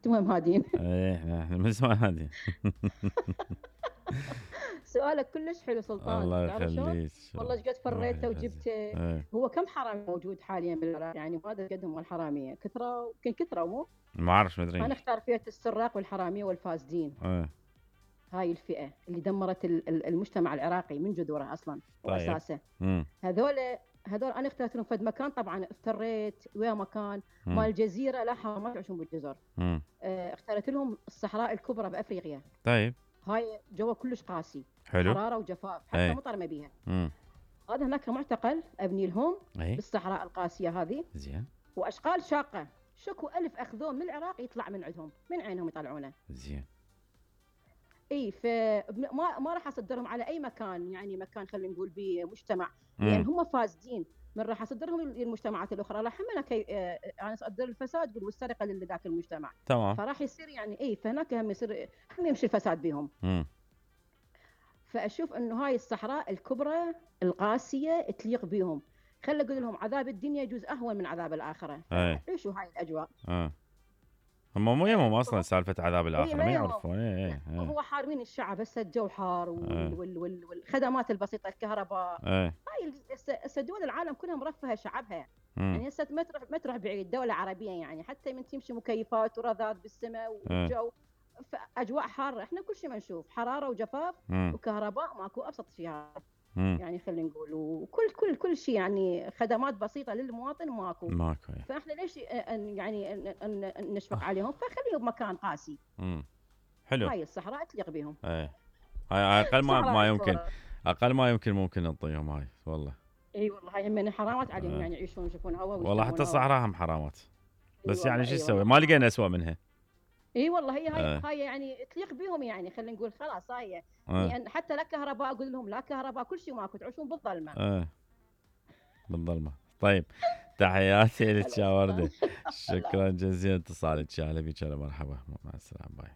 انتم هم هادين. ايه احنا من زمان هادين. سؤالك كلش حلو سلطان، الله تعرف شلون؟ يخليك. والله ايش قد روح فريته يعزك. وجبته. ايه هو كم حرامي موجود حاليا بالعراق؟ يعني ما ادري قدهم الحراميه، كثروا يمكن كثروا مو؟ ما اعرفش ما ادري. انا اختار فئه السراق والحراميه والفاسدين. ايه هاي الفئه اللي دمرت المجتمع العراقي من جذوره اصلا طيب. واساسه. هذول هذول انا اخترت لهم فد مكان، طبعا افتريت ويا مكان مال الجزيره، لا حرام ما تعيشون بالجزر. اخترت لهم الصحراء الكبرى بافريقيا. طيب. هاي جو كلش قاسي، حلو. حراره وجفاف، حتى مطر ما بيها. هذا هناك معتقل ابني لهم بالصحراء القاسيه هذه. زين. واشغال شاقه، شكو ألف اخذوه من العراق يطلع من عندهم، من عينهم يطلعونه. زين. اي ما راح اصدرهم على اي مكان، يعني مكان خلينا نقول بمجتمع، لان هم فاسدين. من راح اصدرهم للمجتمعات الاخرى راح انا اصدر الفساد والسرقه لذاك المجتمع. تمام. فراح يصير يعني فهناك هم يمشي الفساد بهم. فاشوف انه هاي الصحراء الكبرى القاسيه تليق بهم. خلي اقول لهم عذاب الدنيا يجوز اهون من عذاب الاخره. عيشوا هاي الاجواء. هم مو يمهم اصلا سالفه عذاب الاخره، ما يعرفون. هو حارمين الشعب، هسه الجو حار والخدمات البسيطه، الكهرباء. هاي هسه دول العالم كلها مرفهه شعبها. يعني هسه ما تروح بعيد، دوله عربيه يعني حتى من تمشي مكيفات ورذاذ بالسماء والجو اجواء حاره. احنا كل شيء ما نشوف حراره وجفاف وكهرباء ماكو، ابسط شيء هذا. يعني خلينا نقول وكل شيء يعني خدمات بسيطه للمواطن ماكو. فاحنا ليش يعني نشفق عليهم؟ فخليهم بمكان قاسي. حلو. هاي الصحراء تليق بهم. هاي اقل ما يمكن، اقل ما يمكن ممكن نعطيهم هاي والله. اي والله هاي من حرامات عليهم يعني يعيشون يشوفون هواء والله، حتى الصحراء هم حرامات. بس يعني شو نسوي؟ ما لقينا اسوأ منها. اي والله هاي يعني تليق بهم، يعني خلينا نقول خلاص هاي يعني حتى لا كهرباء، اقول لهم لا كهرباء، كل شيء ماكو، تعيشون بالظلمه. بالظلمه. طيب، تحياتي لك يا ورده. شكرا جزيلا اتصالك، يا هلا بك، مرحبا، مع السلامه، باي.